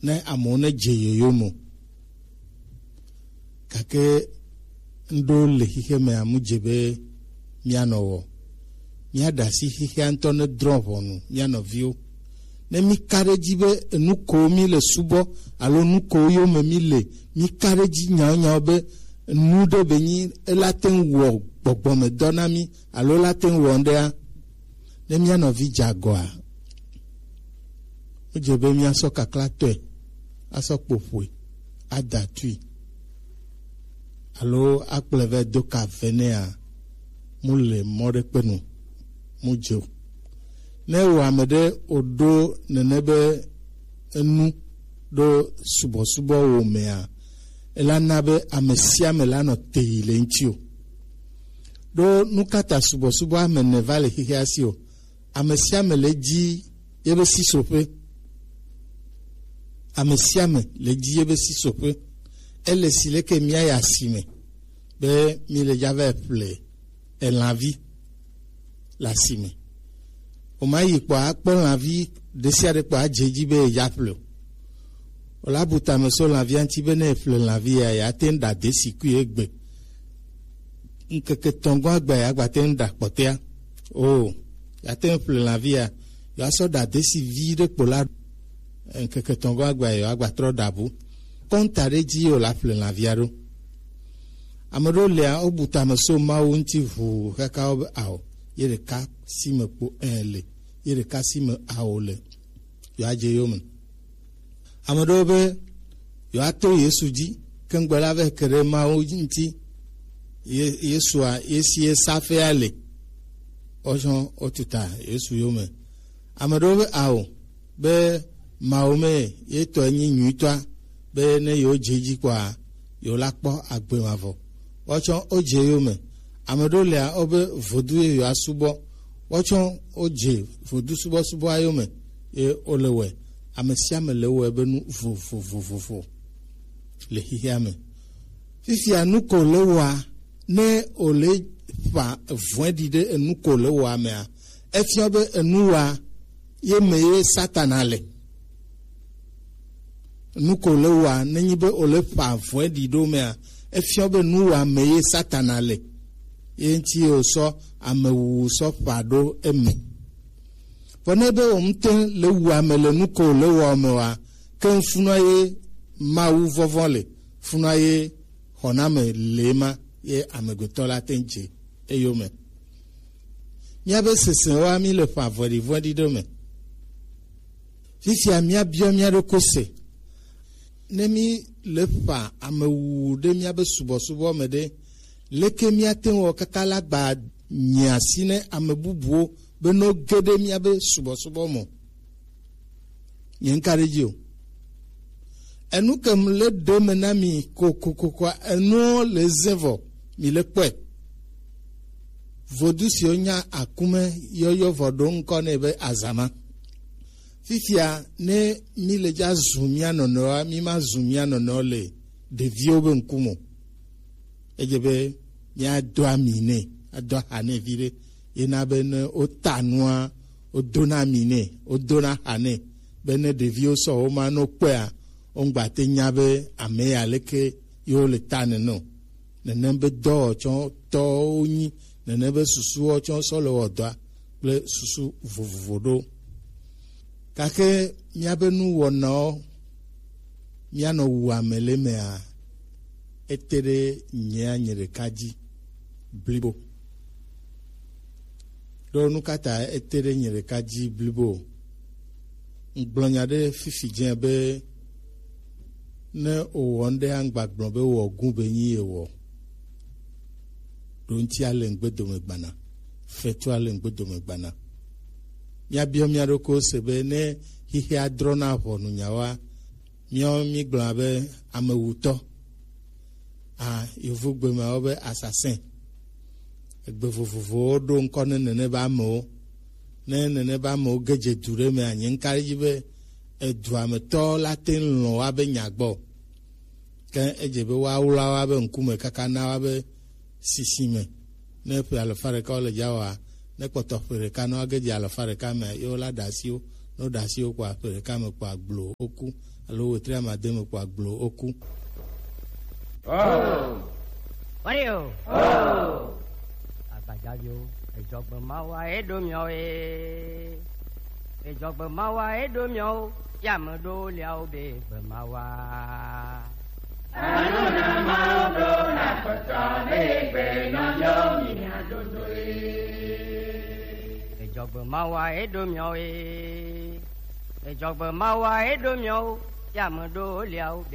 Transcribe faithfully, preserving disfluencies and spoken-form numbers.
ne amewo ne dze yoyo me o. Gake ŋɖo le xixeme a, mu dze be míanɔ wɔ. Míaɖe asi xixea ŋutɔ ne drɔ̃ ʋɔnu mía nɔviwo. Ne mí ka ɖe edzi be enu ko mí le subɔ alo nu ko yome mí le, mí ka ɖe edzi nyawo nyawo be nu ɖe be nyi ela te ŋu wɔ gbɔgbɔmedɔ na mí alo ela te ŋu wɔ ŋɖea, ne mía nɔvi dze agɔa, wodze be míasɔ kaklatɔe asɔ kpo ƒoe, ada tui, alo akplɔe vɛ do ka vɛ nɛa, mu le mɔ ɖe kpe nu, mu dze o. Ne wò ame ɖe wòɖo nene be enu ɖo subɔsubɔ wò mea, ela na be ame sia ame la nɔ te yi le ŋuti o. Ɖo nu ka ta subɔsubɔ ame ene va le xexea si o? Ame sia ame le dzi yebe sisoƒe. Ame sia ame le dzi yebe sisoƒe. Ele si leke míayi asime be mí le dza va ƒle elãvi le asime. Woma yi kpɔ akpɔ lãvi ɖe sia ɖe kpɔ adze edzi be yedza ƒle o. Wòla bu tame so lãvia ŋuti be ne eƒle lãvi ya, yeate ŋu ɖa desikui egbe. Ŋkeke etɔ̃ gɔ̃ agbe ya, yeagbate ŋu ɖa kpɔtɔea. O, yeate ŋu ƒle lãvia, yewoasɔ ɖa desi vi ɖe kpo la. Ŋkeke etɔ̃ gɔ̃ agbe ya, yewoagba trɔ ɖa bu. Kɔnta ɖe dzi ye wòla ƒle lãvia ɖo. Ame ɖewo lia, wobu tame so Mawu ŋuti ʋuu kaka wo be ao, ye ɖeka si me kpo ẽ le, ye ɖeka si me ao le. Yewoadze yome. Ame ɖewo be yewoato Yesu dzi, ke ŋgbe la vɛ ke ɖe Mawu ŋuti. Ye-, Yesua, ye si ye safea le. Wotsɔ wotuta Yesu yome. Ame ɖewo be ao, be Mawu me ye tɔ nyi nyuitɔa, be ne yewo dze edzi kpɔa, yewo la kpɔ agbe mavɔ. Woatsɔ wodze yome. Ame ɖewo lia, wobe vodu ye yewoasubɔ. Woatsɔ wodze vodu subɔsubɔa yome, ye wole wɔe. Ame sia ame le wɔe be nu vovovovovo le xexea me. Fifia nu ko le wɔa, ne wòle ƒa vɔ̃ɖi ɖe enu ko le wɔa mea, efia be enu wɔa ye me ye Satana le. Nu ko le wɔa, nenyi be wòle ƒa vɔ̃ɖi ɖo mea, efia be nu wɔa me ye Satana le. Ye ŋuti ye wòsɔ amewuwu sɔ ƒa ɖo eme. Vɔ ne be wò ŋutɔ le wu ame le nu ko le wɔ me wa, ke funua ye Mawu vɔvɔ̃ le, funua ye xɔname le ema, ye amegbetɔ la te ŋu dze eyome. Míabe sesẽ wa, mí le ƒa vɔ̃ɖivɔ̃ɖi ɖe me. Fifia míabiɔ mía ɖokui se. Ne mí le ƒa amewuwu ɖe míabe subɔsubɔ me ɖe, leke míate ŋu wɔ kaka la gba nye asi ne ame bubuwo be no ge ɖe míabe subɔsubɔ me? Nye ŋka ɖe edzi o. Enu kem le ɖe me na mi kokokoko, enuwo le ze vɔ, mi le kpɔe. Vodu siwo nya akume yɔyɔ vɔ ɖo ŋkɔ nɛ be azama. Fifia ne mi le dza zu mía nɔnɔewoa, mi ma zu mía nɔnɔewo le ɖeviwo be ŋkume o. Edze be míado ami nɛ, ado aha nɛ viɖe. Yena be ne wota nua, wodona ami nɛ, wodona aha nɛ, be ne ɖeviwo sɔ wo ma no kpɔea, woŋgba te nya be ame ya leke yewo le ta nene o. Nenem be dɔwɔtsɔ tɔwo nyi, nenem be susuwo tsɔ sɔ le wɔ dɔa kple susu vovovo ɖo. Gake míabe nuwɔnawo, míanɔ wu ame le emea, ete ɖe nyea nye ɖeka dzi blibo. Ɖo nu ka ta ete ɖe nye ɖeka dzi blibo o? Ŋgblɔ nya ɖe fifi dze be ne wòwɔ ŋɖe aŋgba gblɔ be wɔ gu be nyi yewɔ. Ɖo ŋuti ale ŋgbe dome gbana, fetu ale ŋgbe dome gbana. Míabiɔ mía ɖokuiwo se be ne xexea drɔna ʋɔnu nyawoa, míawo mígblɔna be amewutɔ. A, yovogbe me wo be assassin. Egbe vovovowo ɖo ŋkɔ ne nene be amewo. Ne nene be amewo ge dze du ɖe mea, nye ŋka ɖe edzi be edua me tɔ la te ŋu lɔ̃ woabe nya gbɔ. Ke edze be woawla woabe ŋkume kaka na woabe sisi me. Ne ƒe alafa ɖeka wole dza wɔa, ne kpɔtɔ ƒe ɖeka ne woage dze alafa ɖeka mea, ye wola ɖe asi wo Ne woɖe asi wo kpɔ ƒe ɖeka me kpɔ agblo woku, alo wetri amade me kpɔ agblo woku. Oh! Wario! Oh! Agbajaviwo, edzɔgbe mawa eɖo miɔ e. Edzɔgbe mawa eɖo miɔ o, ya me ɖo liawo be gbe mawa. Anu na mawo ɖo na kpɔtɔ be gbe nɔ yɔ mi adodo e. Edzɔgbe mawa eɖo miɔ e. Edzɔgbe mawa eɖo miɔ o, ya me ɖo liawo be